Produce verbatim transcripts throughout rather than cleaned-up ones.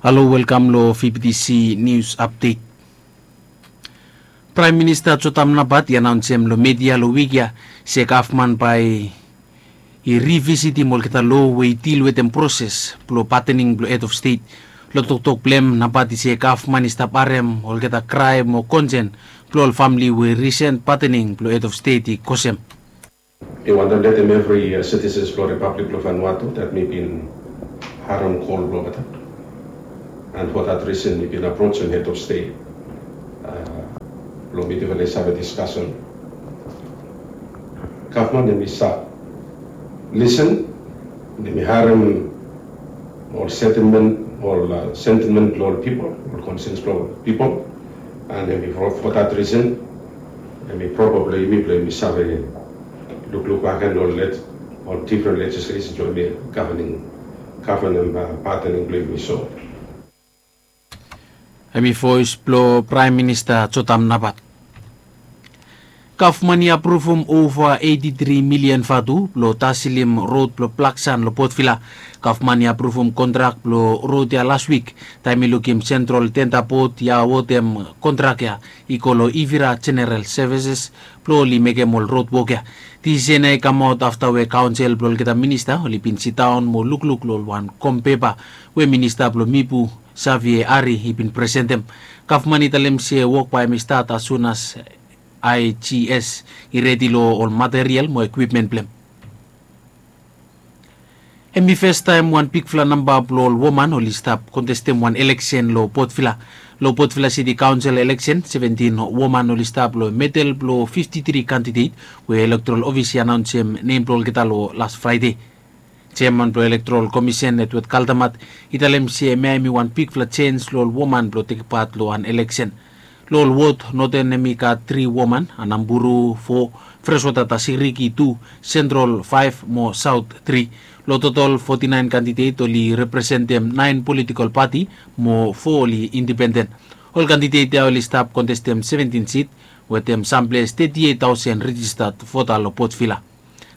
Halo, welkam long V B T C News Update. Praem Minista Jotam Napat i anaonsem long media long wik ya se gavman bae i rivisitim olgeta lo we i dil wetem proses blong patening blong hed of stet. Long toktok blong hem, Napat i se gavman i stap harem olgeta kraem o konsen blong ol famle we risen patening blong hed of stet i kosem. Mi wantem letem evri, uh, citizens blong Republic blong Vanuatu that mi bin harem kol blong olgeta. And for that reason mi bin aprojem head of state, uh, blong mi definitively save discussion. Gavman hemi save listen, hemi harem ol sentiment, ol, uh, sentiment blong ol pipol, ol concerns blong ol pipol. And hemi for, for that reason, hemi probably mi blong mi save lukluk bakegen ol leg-, ol different legislation blong mi governing, governing, uh, patening blong mi so. Hemi voes blong Praem Minista Jotam Napat. Gavman i apruvum ova eiti tri milian vatu blong taselim rod blong Blaksan long Port Vila. Gavman i apruvum kontrak blong rod ya las wik, taem i lukim Sentral Tenda Bod i awotem kontrak ya i go long Ivira General Services blong oli mekem ol rod wok ya. Disisen ya i kamaot afta we kaonsel blong olgeta minista oli bin sidaon mo lukluk long ol wan kom pepa we minista blong Mipu, Xavier Ari, i bin presentem. Gavman i talem se wok bae hemi stat as soon as I G S i redi long ol material mo ekwipmen blong hem. Hemi fastaem wan bigfala namba blong ol woman oli stap kontestem wan eleksen long Port Vila. Long Port Vila City Council eleksen, seventin woman oli stap long medel blong fifti tri kandidet we elektoral ofis i anaonsem nem blong olgeta long las Fraede. Jeaman blong Elektoral Komisen, Edward Kaldamat, i talem se hemia hemi wan bigfala jens long ol woman blong tek pat long wan eleksen. Long ol wod, Noten hemi gat tri woman, Anamburu fo, Freswata Tasiriki tu, Sentral faef mo Saot tri. Long totol foti naen kandidet oli representem naen politikol pati mo fo oli indipenden. Ol kandidet ya oli stap kontestem seventin sit wetem samples teti eit taosen rejistat vota long Port Vila.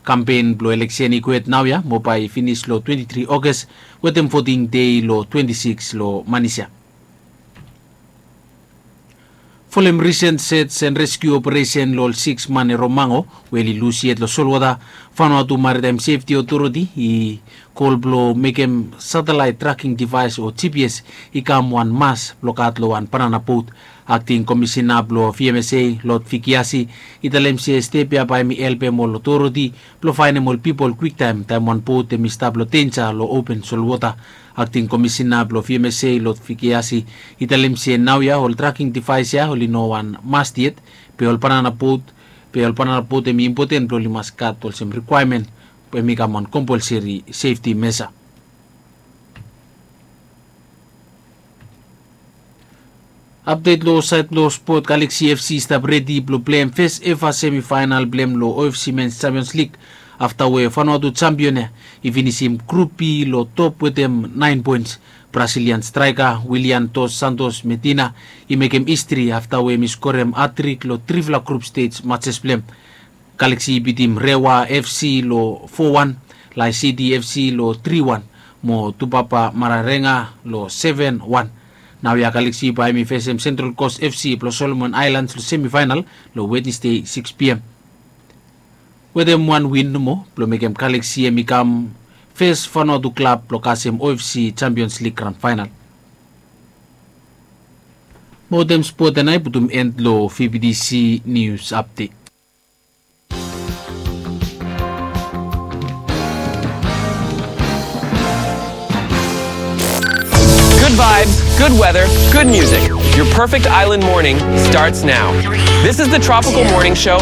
Kampen blong eleksen i kwet naoia mo bae i finis long twenti tri Oges wetem voting dei long twenti sikis long manis ya. Folem risen search and rescue operation long ol sikis man e Romango we oli lus yet long solwota, Vanuatu Maritime Safety Authority i kol blong mekem satellite tracking device o G P S i kam wan mas blong gat long wan banana bot. Akting Komisina blong V M S A, Lord Fikiasi, i talem se step ya bae hemi helpem ol otoriti blong faenem ol pipol kwiktaem, taem wan bot hemi stap long denja long open solwota. Akting Komisina blong V M S A, Lord Fikiasi, i talem se naoia ol tracking device ya oli no wan must yet, be ol banana bot, be ol banana bot hemi impoten blong oli mas gat olsem requirement, be hemi kam wan compulsory safety measure. Update long saed blong spot, Galaxy F C i stap redi blong pleim fes eva semifaenal blong hem long O F C Men's Champions League afta we Vanuatu jampion ya i finisim Grup B long top wetem naen poens. Brazilian straeka Willian Dos Santos Medina i mekem histri afta we hemi skorem hatrik long trifala grup stej majes blong hem. Galaxy i bitim Rewa F C long fo wan, Lae City F C long tri wan, mo Tupapa Mararenga long seven wan. Naoia Galaxy bae hemi fesem Central Coast F C blong Solomon Islands long semifaenal long Wednesday sikis P M. Wetem wan win nomo blong mekem Galaxy hemi kam fes Vanuatu klab blong kasem O F C Champions League gran faenal. Mo wetem spot ya nao i putum end long V B T C News Update. Good vibes, good weather, good music. Your perfect island morning starts now. This is the Tropical Morning Show